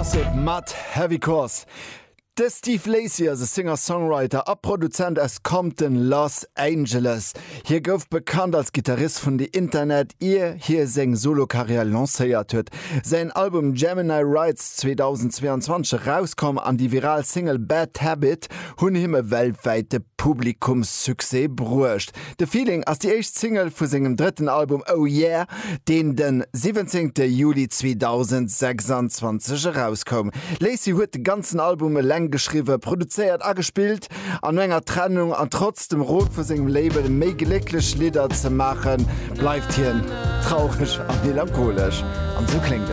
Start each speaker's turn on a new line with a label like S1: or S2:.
S1: Gossip mat Heavy Course. De Steve Lacy ass e Singer-Songwriter a Produzent aus Compton, Los Angeles. Hie gouf bekannt als Gittarist vun The Internet, ier hie seng Solo-Karriär lancéiert huet. Säin Album Gemini Rights 2022 erauskomm an déi viral Single Bad Habit hunn him e weltwäite Publikumssuccès bruecht. The Feeling ass déi éischt Single vu sengem drëtten Album Oh Yeah, deen de 17 Juli 2026 erauskoum. Lacey huet de ganzen Album eleng geschriwwen, produzéiert a gespillt. An no enger Trennung an trotz dem Rot vu sengem Label méi glécklech Lidder ze maachen, bleift hien traureg a melancholesch. An esou kléngt et.